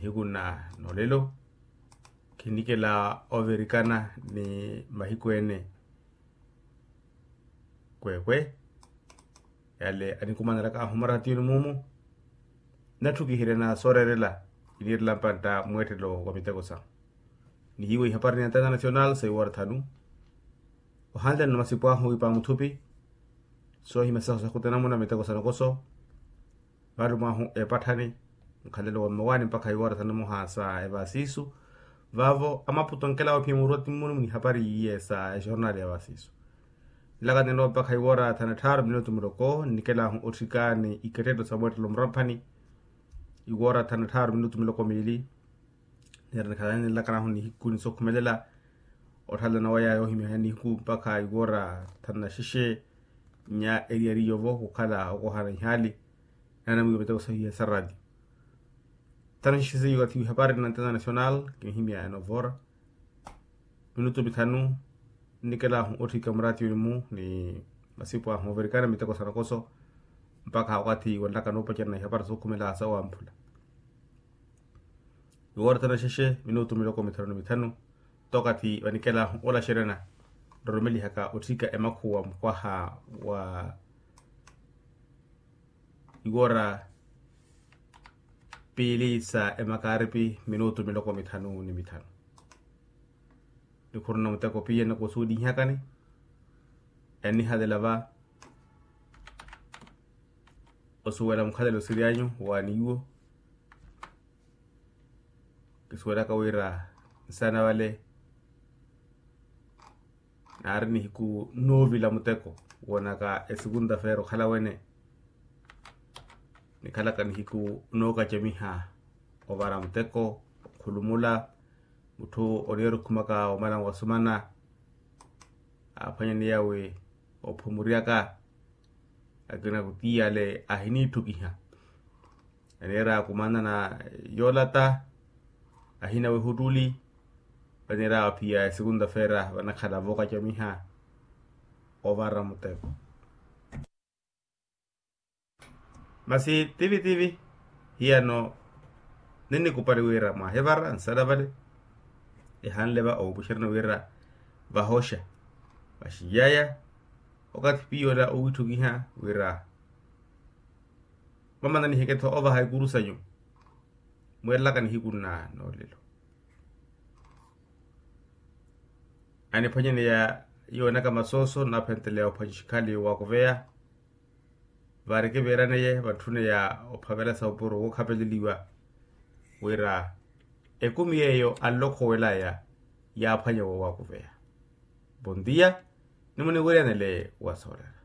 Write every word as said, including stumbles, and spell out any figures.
Nihiku na nolelo khinikela overikana ni mahiku ene. Kwekwe yale anikumanelaka ahu maratiyoni mumu. Natthukihirya na sooreerela iniirela mpantta mweettelo wa miteko sahu. Nihiiwa ihapari ni international sa iwoora thanu. Ohanleno na masipu ahu ipa muthupi soohimya sahu sakhutena muna miteko sa nokoso. Valumahu epatthani nkhalelo wa mmawaani mpakha iwoora thanu na moha sa evaasiisu. Vaavo amaputo nkelawo phi muruwa timmuni munihapari iye sa exornali ya vaasiisu. Nlaka ninowa mpakha iwoora thanu na tthaaru minutu muloko nnikelahu otthika ni ikettetto sa mweettelo muramphani. Iwoora thanu na tthaaru minutu miloko miili. Nira nikhalani nlakanahu nihiku ni sookhumelela otthallana waya yoohimya nihiku mpakha iwoora thanu na xexe. Nya eriyari yovo khukhala okohana ihaali. Naana mwiiwa miteko sahiya sa raatiyo. Thanu xexe seiyo kathi ihapari na international kinihimya enovoora minutu mithanu. Nnikelahu otthika muraatiyoni-mu ni masipu ahu overikana miteko sa nokoso mpakha wakathi wanlaka noopacerana ihapari sookhumela sa wamphula. Iwoora thanu na xexe minutu miloko mithanu ni mithanu. Tookathi vanikelahu olaxeryana nrorumelihaka otthika emakhuwa mukwaha wa iwoora piili sa emakaaripi minutu miloko mithanu ni mithanu. Nikhuruna muteko piya nikusuwelihiyakani enihalela va osuwela mukhalelo siryanyu wa niwo. Kisuwelaka wira nsaana vale naari nihiku noovila muteko woonaka esukunta feera okhala wene. Nikhalaka nihiku nookacamiha ovara muteko okhulumula mutthu oniira okhumaka omala wasumana aaphwanyani yawe ophumuryaka. Akina kutiyale ahiniitthukiha aniira kumanana yoolata ahina wehuttuli. Vaniira aphiya esukunta feera vanakhala vookacamiha ovara muteko. Masi tivi-tivi hiyano ninnikupali wira mwahivara nsala vale. Ehanle va owopuxerani wira vahoxa vaxiyaya okathi piyola owitthukiha wira mamana niheke-tho ovaha ikuru sanyu. Mweerelaka nihiku nna noolelo aniphwanyaneya yoonaka masooso naaphenteleya ophwanyixikhali wakuveya. Vaari kiviiraneye vantthuneya ophavela sa opuro wookhapeleliwa wira ekumi yeeyo anlokhowelaya yaaphwanya woowakuveya. Vontiya nimuniwiryanele wasoorera.